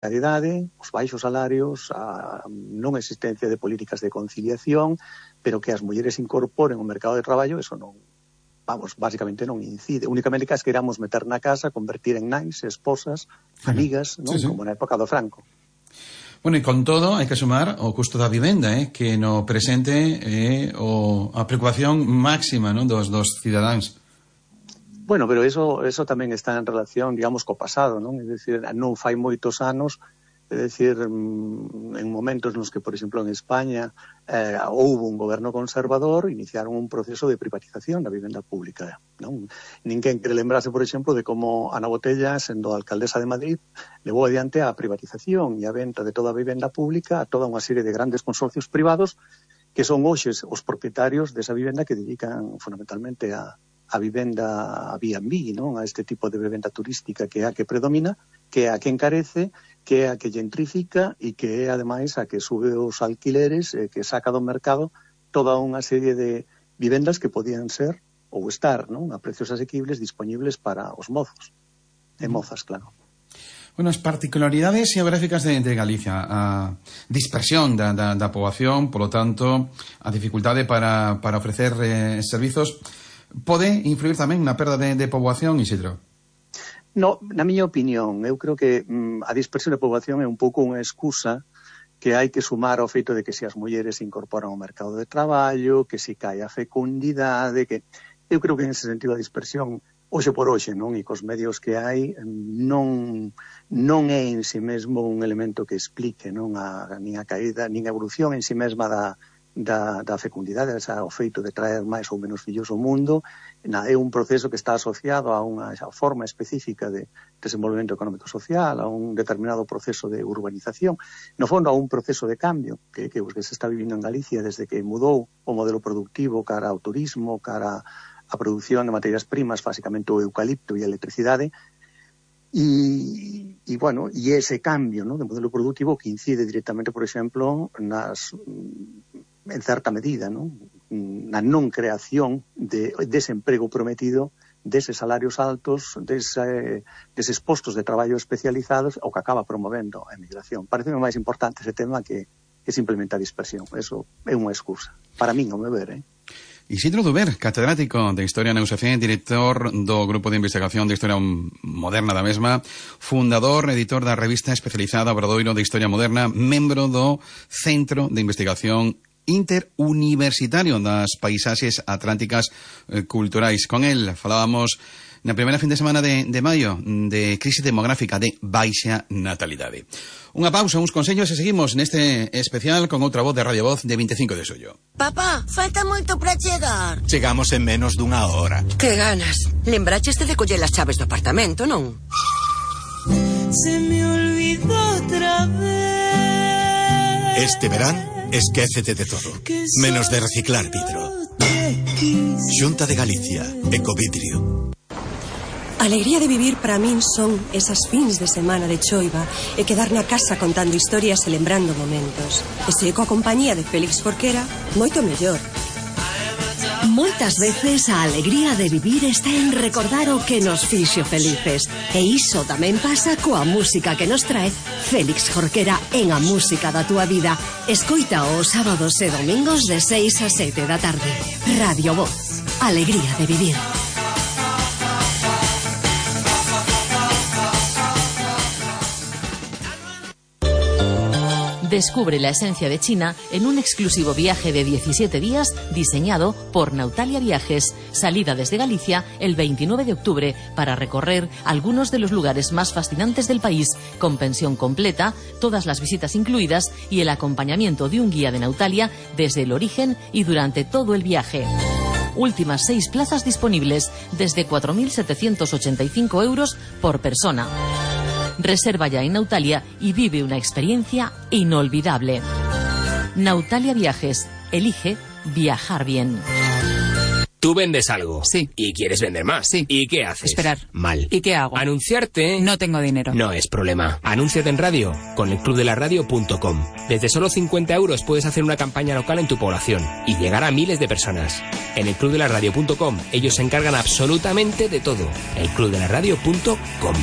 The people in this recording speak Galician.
precariedade, os baixos salarios, a non existencia de políticas de conciliación, pero que as mulleres incorporen o mercado de traballo, eso non, básicamente non incide. Únicamente que as queramos meter na casa, convertir en nais, esposas, amigas, non? Sí. Como na época do Franco. Bueno, e con todo, hai que sumar o custo da vivenda, que no presente é a preocupación máxima, non, dos cidadáns. Bueno, pero eso tamén está en relación, digamos, co pasado, non? É dicir, non fai moitos anos, é dicir, en momentos nos que, por exemplo, en España houve un goberno conservador, iniciaron un proceso de privatización da vivenda pública, non? Ninguén quere lembrarse, por exemplo, de como Ana Botella, sendo alcaldesa de Madrid, levou adiante a privatización e a venta de toda a vivenda pública a toda unha serie de grandes consorcios privados que son hoxes os propietarios desa vivenda que dedican fundamentalmente a vivenda a B&B, non? A este tipo de vivenda turística que é a que predomina, que é a que encarece, que é a que gentrifica e que é, ademais, a que sube os alquileres, que saca do mercado toda unha serie de vivendas que podían ser ou estar, non? A precios asequibles disponibles para os mozos e mozas, claro. Bueno, as particularidades xeográficas de Galicia, a dispersión da poboación, polo tanto, a dificultade para ofrecer servizos, pode influir tamén na perda de poboación, Isidro? No, na miña opinión, eu creo que a dispersión de poboación é un pouco unha excusa que hai que sumar ao feito de que se as mulleres se incorporan ao mercado de traballo, que se cae a fecundidade, que eu creo que en ese sentido a dispersión, hoxe por hoxe, non, e cos medios que hai, non é en si mesmo un elemento que explique, non, nin a caída, nin a evolución en si mesma da fecundidade, o feito de traer máis ou menos fillos ao mundo. É un proceso que está asociado a unha forma específica de desenvolvemento económico-social, a un determinado proceso de urbanización, no fondo a un proceso de cambio que se está vivindo en Galicia desde que mudou o modelo productivo cara ao turismo, cara á produción de materias primas, basicamente o eucalipto e a electricidade, e ese cambio, ¿no?, de modelo productivo que incide directamente, por exemplo, en certa medida, ¿no?, na non creación de desemprego prometido, deses salarios altos, deses postos de traballo especializados, o que acaba promovendo a emigración. Parece máis importante ese tema que simplemente a dispersión. Eso é unha excusa. Para min, ao meu ver, Isidro Duber, catedrático de Historia na USACE, director do Grupo de Investigación de Historia Moderna da mesma, fundador, editor da revista especializada Obradoiro de Historia Moderna, membro do Centro de Investigación Interuniversitario das Paisaxes Atlánticas Culturais. Con el falábamos na primeira fin de semana de maio de crise demográfica, de baixa natalidade. Unha pausa, uns consellos e seguimos neste especial con outra voz de Radio Voz de 25 de xullo. Papá, falta moito para chegar. Chegamos en menos dunha hora. Que ganas. Lembraches de coller as chaves do apartamento, non? Se me olvidó otra vez. Este verán, esquécete de todo, menos de reciclar vidro. Xunta de Galicia, Ecovidrio. A alegría de vivir para min son esas fins de semana de choiva e quedar na casa contando historias e lembrando momentos. E se coa compañía de Félix Jorquera, moito mellor. Moitas veces a alegría de vivir está en recordar o que nos fixo felices. E iso tamén pasa coa música que nos trae Félix Jorquera en A Música da Túa Vida. Escoita os sábados e domingos de 6 a 7 da tarde. Radio Voz. Alegría de vivir. Descubre la esencia de China en un exclusivo viaje de 17 días diseñado por Nautalia Viajes. Salida desde Galicia el 29 de octubre para recorrer algunos de los lugares más fascinantes del país, con pensión completa, todas las visitas incluidas y el acompañamiento de un guía de Nautalia desde el origen y durante todo el viaje. Últimas 6 plazas disponibles desde 4.785 euros por persona. Reserva ya en Nautalia y vive una experiencia inolvidable. Nautalia Viajes. Elige viajar bien. Tú vendes algo. Sí. Y quieres vender más. Sí. ¿Y qué haces? Esperar. Mal. ¿Y qué hago? Anunciarte. No tengo dinero. No es problema. Anúnciate en radio con elclubdelaradio.com. Desde solo 50 euros puedes hacer una campaña local en tu población y llegar a miles de personas. En elclubdelaradio.com ellos se encargan absolutamente de todo. elclubdelaradio.com.